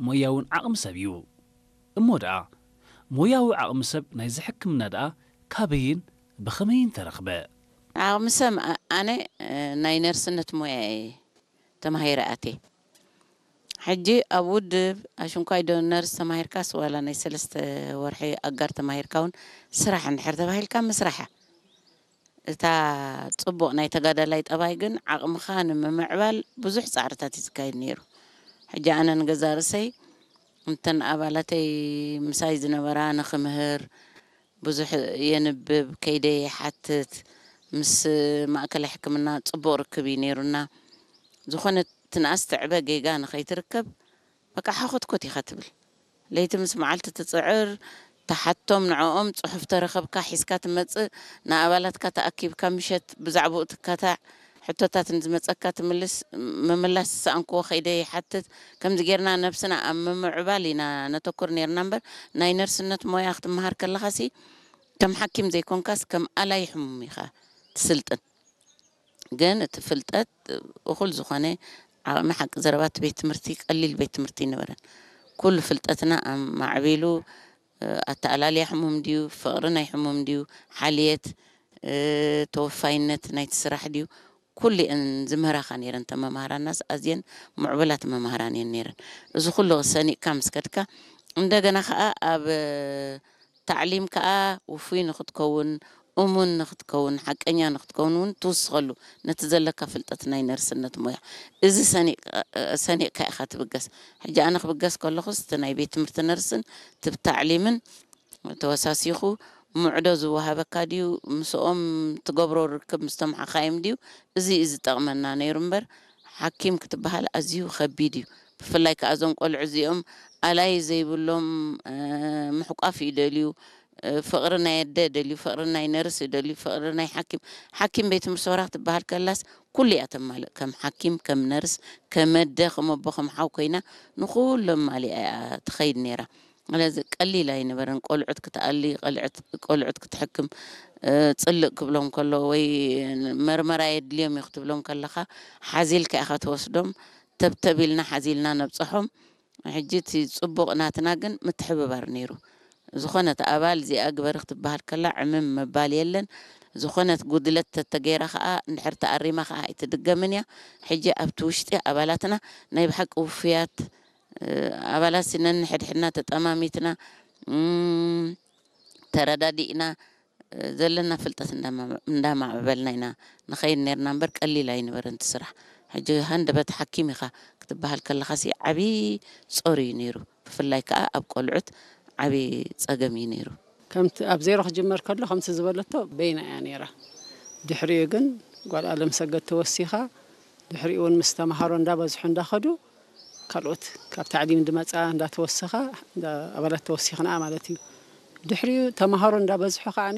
ሞያውን ዓቕሚ ሰብ እዩ። እሞ ደኣ ሞያዊ ዓቕሚ ሰብ ናይዚ ሕክምና ደኣ ካበይን ብኸመይን ተረኽበ? ዓቕሚ ሰብ፣ ኣ-፣ ኣነ፣ እ፣ ናይ ነርስነት ሞያ እየ ተማሂረ ኣትየ። ሕጂ ኣብ ውድብ ኣሽንኳይ ዶ ነርስ ተማሂርካስ ዋላ ናይ ሰለስተ ወርሒ ኣጋር ተማሂርካ እውን ስራሕ እንድሕር ተባሂልካ ምስራሕ እያ። እታ ጽቡቕ ናይ ተጋዳላይ ጠባይ ግን ዓቕምኻ ንምምዕባል ብዙሕ ጻዕርታት እዩ ዝካየድ ነይሩ። ሕጂ ኣነ ንገዛ ርእሰይ እንተን ኣባላተይ ምሳይ ዝነበራ ንኽምህር ብዙሕ የንብብ፣ ከይደ ይሓትት፣ ምስ ማእከላይ ሕክምና ጽቡቕ ርክብ እዩ ነይሩና። ዝኾነት ትንኣስ ትዕበ ጌጋ ንኸይትርከብ በቃ ሓኾትኮት ኢኻ ትብል። ለይቲ ምስ መዓልቲ ትጽዕር፣ ትሓቶም፣ ንዕኦም ጽሑፍ ተረኸብካ ሒዝካ ትመጽእ፣ ንኣባላትካ ተኣኪብካ ምሸት ብዛዕባኡ ትካታዕ፣ ሕቶታት ንዝመጸካ ትምልስ፣ ምምላስ ዝሰኣንክዎ ከይደ ይሓትት። ከምዚ ጌርና ነብስና ኣብ ምምዕባል ኢና ነተኩር ኔርና እምበር፣ ናይ ነርስነት ሞያ ክትመሃር ከለኻሲ ከም ሓኪም ዘይኮንካስ ከም ኣላይ ሕሙም ኢኻ ትስልጥን። ግን እቲ ፍልጠት እኹል ዝኾነ ዓቕሚ ሓቂ ዘረባ እቲ ቤት ትምህርቲ ቀሊል ቤት ትምህርቲ ኣይነበረን። ኩሉ ፍልጠትና ኣማዕቢሉ፣ እ፣ ኣተኣላልያ ሕሙም ድዩ፣ ፍቕሪ ናይ ሕሙም ድዩ፣ ሓልየት፣ እ፣ ተወፋይነት ናይቲ ስራሕ ድዩ፣ ኩሉ እየን ዝምህራኻ ነይረን። እተን መማህራናስ ኣዝየን ምዕቡላት መማህራን እየን ነይረን። እዚ ኩሉ ሰኒቕካ ምስ ከድካ፣ እንደገና ኸኣ ኣብ ታዕሊም ከኣ ውፉይ ንኽትከውን፣ እሙን ንኽትከውን፣ ሓቀኛ ንኽትከውን እውን ትውስኸሉ፣ ነቲ ዘለካ ፍልጠት ናይ ነርስነት ሞያ። እዚ ሰኒቕ-፣ ሰኒቕካ ኢኻ ትብገስ። ሕጂ ኣነ ክብገስ ከለኹስ፣ እቲ ናይ ቤት ትምህርቲ ነርስን፣ እቲ ብታዕሊምን ተወሳሲኹ፣ ምዕዶ ዝወሃበካ ድዩ፣ ምስኦም ትገብሮ ርክብ ምስቶም ሓኻይም ድዩ፣ እዚ እዩ ዝጠቕመና ነይሩ እምበር፣ ሓኪም ክትበሃል ኣዝዩ ከቢድ እዩ። ብፍላይ ከኣ እዞም ቆልዑ እዚኦም ኣላይ ዘይብሎም፣ እ፣ ምሕቋፍ ይደልዩ፣ እ፣ ፍቕሪ ናይ ኣደ ይደልዩ፣ ፍቕሪ ናይ ነርስ ይደልዩ፣ ፍቕሪ ናይ ሓኪም። ሓኪም ቤት ምርመራ ክትበሃል ከላስ ኩሉ እያ ተማልእ። ከም ሓኪም፣ ከም ነርስ፣ ከም ኣደ፣ ከም ኣቦ፣ ከም ሓው ኮይና ንኹሎም ማሊኣ እያ ትኸይድ ነይራ። ስለዚ ቀሊል ኣይነበረን። ቆልዑት ክትኣሊ፣ ቆልዑት፣ ቆልዑት ክትሕክም፣ እ፣ ጽልእ ክብሎም ከሎ ወይ መርመራ የድልዮም እዩ ክትብሎም ከለኻ ሓዚልካ ኢኻ ትወስዶም። ተብተብ ኢልና ሓዚልና ነብጽሖም። ሕጂ እቲ ጽቡቕ ናትና ግን ምትሕብባር ነይሩ። ዝኾነት ኣባል እዚኣ ግበሪ ክትበሃል ከላ ዕምም ምባል የለን። ዝኾነት ጉድለት ተተገይራ ከኣ እንድሕር ተኣሪማ ከኣ ኣይትድገምን እያ። ሕጂ ኣብቲ ውሽጢ ኣባላትና ናይ ብሓቂ ውፉያት፣ እ፣ ኣባላት ሲ ነንሕድሕድና ተጠማሚትና፣ እም፣ ተረዳዲእና፣ እ፣ ዘለና ፍልጠት እንዳማ-፣ እንዳማዕበልና ኢና ንኸይድ ነርና እምበር ቀሊል ኣይነበረን እቲ ስራሕ። ሕጂ ሃንደበት ሓኪም ኢኻ ክትበሃል ከለኻሲ ዓብዪ ጾር እዩ ነይሩ። ብፍላይ ከኣ ኣብ ቆልዑት ዓብዪ ጸገም እዩ ነይሩ። ከምቲ ኣብ ዜሮ ክጅመር ከሎ ከምቲ ዝበለቶ በይና እያ ነይራ። ድሕሪኡ ግን ጓል ኣለምሰገድ ተወሲኻ፣ ድሕሪኡ እውን ምስ ተምሃሮ እንዳበዝሑ እንዳኸዱ፣ ካልኦት ካብ ታዕሊም ዝመጻ እንዳተወሰኻ፣ እንዳ-፣ ኣባላት ተወሲኽና ማለት እዩ። ድሕሪኡ ተምሃሮ እንዳበዝሑ ከዓኒ፣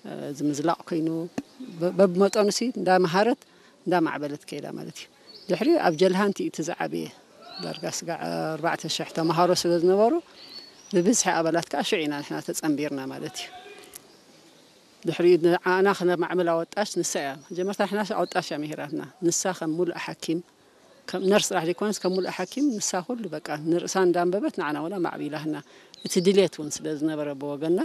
እ፣ ዝምዝላቕ ኮይኑ፣ በ-፣ በብመጠኑሲ እንዳመሃረት፣ እንዳማዕበለት ከይዳ ማለት እዩ። ድሕሪኡ ኣብ ጀልሃንቲ እዩ እቲ ዝዓበየ። ዳርጋ ስጋዕ ኣርባዕተ ሽሕ ተምሃሮ ስለ ዝነበሩ፣ ብብዝሒ ኣባላት ከኣ ሽዑ ኢና ንሕና ተጸንቢርና ማለት እዩ። ድሕሪኡ ንዓና ክነማዕብል ኣወጣሽ ንሳ እያ። መጀመርታ ንሕና ኣወጣሽ እያ ምሂራትና። ንሳ ከም ሙሉእ ሓኪም፣ ከም ነርስ ጥራሕ ዘይኮነስ ከም ሙሉእ ሓኪም ንሳ ኩሉ በቃ ንርእሳ እንዳንበበት ንዓና እውን ኣማዕቢላትና። እቲ ድሌት እውን ስለ ዝነበረ ብወገንና፣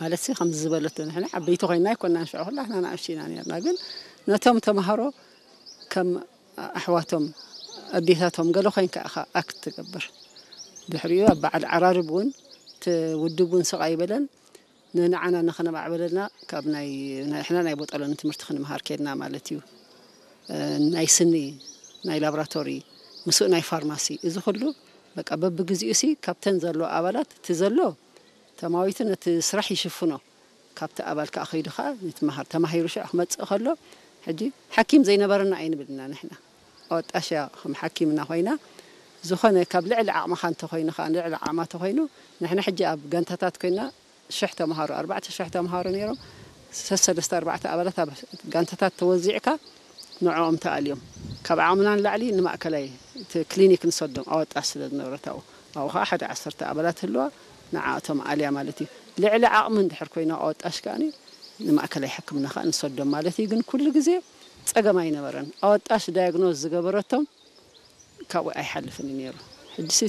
ማለትሲ ከምዚ ዝበለቶ ንሕና ዓበይቲ ኮይንና ኣይኮንናን ሽዑ ኩላትና ንኣሽቱ ኢና ነርና። ግን ነቶም ተምሃሮ ከም ኣሕዋቶም ኣዴታቶም ገለ ኮይንካ ኢኻ ኣክት ትገብር። ድሕሪኡ ኣብ በዓል ዓራርብ እውን እቲ ውድብ እውን ስቕ ኣይበለን። ንንዓና ንኸነማዕበለልና ካብ ናይ፣ ናይ፣ ንሕና ናይ ቦጠሎኒ ትምህርቲ ክንምሃር ከድና ማለት እዩ። እ፣ ናይ ስኒ፣ ናይ ላብራቶሪ፣ ምስኡ ናይ ፋርማሲ፣ እዚ ኩሉ በቃ በብግዚኡ ሲ ካብተን ዘሎ ኣባላት እቲ ዘሎ ተማዊቱ ነቲ ስራሕ ይሽፍኖ። ካብቲ ኣባል ከኣ ከይዱ ከኣ ይትመሃር። ተማሂሩ ሽዑ ክመጽእ ከሎ፣ ሕጂ ሓኪም ዘይነበረና ኣይንብልና ንሕና። ኣወጣሽ እያ ከም ሓኪምና ኮይና፣ ዝኾነ ካብ ልዕሊ ዓቕምኻ እንተኾይኑ ከኣ፣ ልዕሊ ዓቕማ እንተኾይኑ፣ ንሕና ሕጂ ኣብ ጋንታታት ኮይና፣ ሽሕ ተምሃሮ፣ ኣርባዕተ ሽሕ ተምሃሮ ነይሮም። ሰለስተ ኣርባዕተ ኣባላት ኣብ ጋንታታት ተወዚዕካ ንዕኦም ተኣልዮም። ካብ ዓቕምና ንላዕሊ ንማእከላይ እቲ ክሊኒክ ንሰዶም ኣወጣሽ ስለ ዝነበረት ኣብኡ። ኣብኡ ኸዓ ሓደ ዓሰርተ ኣባላት ህልዋ ንዓኣቶም ኣልያ ማለት እዩ። ልዕሊ ዓቕሚ እንድሕር ኮይና ኣወጣሽ ከኣኒ ንማእከላይ ሕክምና ኸኣ ንሰዶም ማለት እዩ። ግን ኩሉ ግዜ ጸገም ኣይነበረን። ኣወጣሽ ዳያግኖዝ ዝገበረቶም ካብኡ ኣይሓልፍን እዩ ነይሩ። ሕጂ ሲ